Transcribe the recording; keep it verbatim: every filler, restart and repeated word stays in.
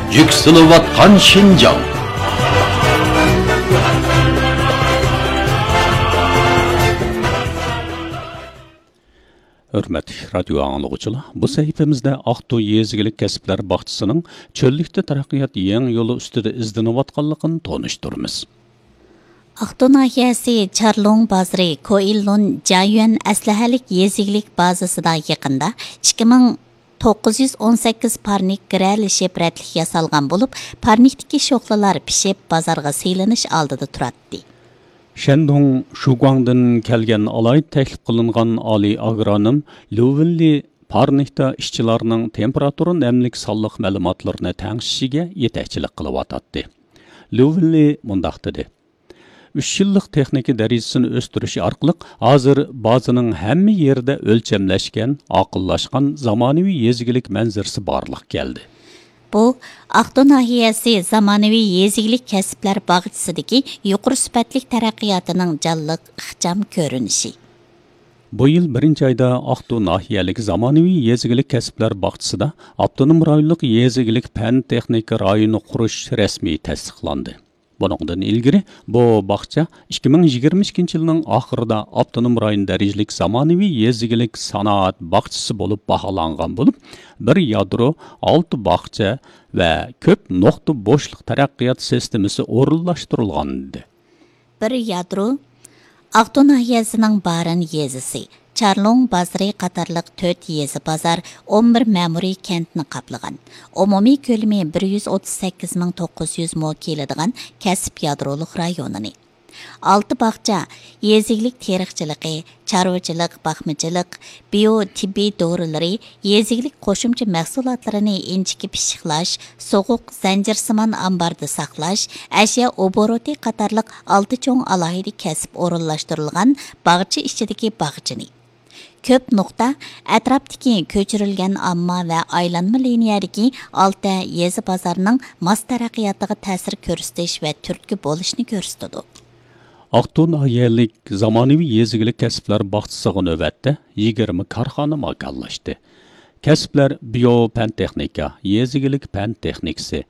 يۈكسىلىۋاتقان شىنجاڭ. ھۆرمەتلىك رادىيو ئاڭلىغۇچىلار، بۇ سەھىپىمىزدە ئاقتۇ يېزا ئىگىلىك كەسىپلەر باغچىسىنىڭ چۆللۈكتە تەرەققىيات يېڭى يولى ئۈستىدە ئىزدىنىۋاتقانلىقىنى تونۇشتۇرىمىز. ئاقتۇ ناھىيەسى چارلۇڭ بازىرى كوئىللۇن جايۈەن ئەسلىھەلىك يېزا ئىگىلىك بازىسىدا يېقىندا ئىككى مىڭ توققۇز يۈز ئون سەككىز پارنىك گىرەلىشىپ رەتلىك ياسالغان بولۇپ، پارنىكتىكى شوخلىلار پىشىپ، بازارغا سېلىنىش ئالدىدا تۇراتتى. شەندۇڭ شۇگۇاڭدىن كەلگەن ئالاھىدە تەكلىپ قىلىنغان ئالىي ئاگرونوم ليۇ ۋېنلى پارنىكتا ئىشچىلارنىڭ تېمپېراتۇرا نەملىك سانلىق مەلۇماتلىرىنى تەڭشىشىگە يېتەكچىلىك قىلىۋاتاتتى. ليۇ ۋېنلى مۇنداق دېدى: «ئۈچ يىللىق تېخنىكا دەرىجىسىنى ئۆستۈرۈش ئارقىلىق، ھازىر بازىنىڭ ھەممە يېرىدە ئۆلچەملەشكەن، ئاقىللاشقان زامانىۋى يېزا ئىگىلىك مەنزىرىسى بارلىققا كەلدى.» بۇ، ئاقتۇ ناھىيەسى زامانىۋى يېزا ئىگىلىك كەسىپلەر باغچىسىدىكى يۇقىرى سۈپەتلىك تەرەققىياتىنىڭ جانلىق، ئىخچام كۆرۈنۈشى. بۇ يىل بىرىنچى ئايدا ئاقتۇ ناھىيەلىك زامانىۋى يېزا ئىگىلىك كەسىپلەر باغچىسىدا ئاپتونوم رايونلۇق يېزا ئىگىلىك پەن تېخنىكا رايونى قۇرۇش رەسمىي تەستىقلاندى. بۇنىڭدىن ئىلگىرى بۇ باغچە ئىككى مىڭ يىگىرمە ئىككىنچى يىلنىڭ ئاخىرىدا ئاپتونوم رايون دەرىجىلىك زامانىۋى يېزا ئىگىلىك سانائەت باغچىسى بولۇپ باھالانغان بولۇپ، بىر يادرو، ئالتە باغچە ۋە كۆپ نۇقتا بوشلۇق تەرەققىيات سىستېمىسى ئورۇنلاشتۇرۇلغانىدى. بىر يادرو، ئاقتۇ ناھىيەسىنىڭ بارىن يېزىسى، چارلۇڭ بازىرى قاتارلىق تۆت يېزا بازار، ئون بىر مەمۇرىي كەنتنى قاپلىغان، ئومۇمىي كۆلىمى بىر يۈز ئوتتۇز سەككىز مىڭ توققۇز يۈز مو كېلىدىغان كەسىپ يادرولۇق رايونىنى. ئالتە باغچە يېزا ئىگىلىك تېرىقچىلىقى، چارۋىچىلىق، باقمىچىلىق، بىيو تېببىي دورىلىرى، يېزا ئىگىلىك قوشۇمچە مەھسۇلاتلىرىنى ئىنچىكە پىششىقلاش، سوغۇق زەنجىرسىمان ئامباردا ساقلاش، ئەشيا ئوبوروتى قاتارلىق ئالتە چوڭ ئالاھىدە كەسىپ ئورۇنلاشتۇرۇلغان باغچە ئىچىدىكى باغچىنى. كۆپ نۇقتا ئەتراپتىكى كۆچۈرۈلگەن ئامما ۋە ئايلانما لىنىيەدىكى ئالتە يېزا بازارنىڭ ماس تەرەققىياتىغا تەسىر كۆرسىتىش ۋە تۈرتكە بولۇشنى كۆرسىتىدۇ. ئاقتۇ ناھىيەلىك زامانىۋى يېزا ئىگىلىك كەسىپلەر باغچىسىغا نۆۋەتتە يىگىرمە كارخانا ماكانلاشتى. كەسىپلەر بىيو پەن تېخنىكا، يېزا ئىگىلىك پەن تېخنىكىسى،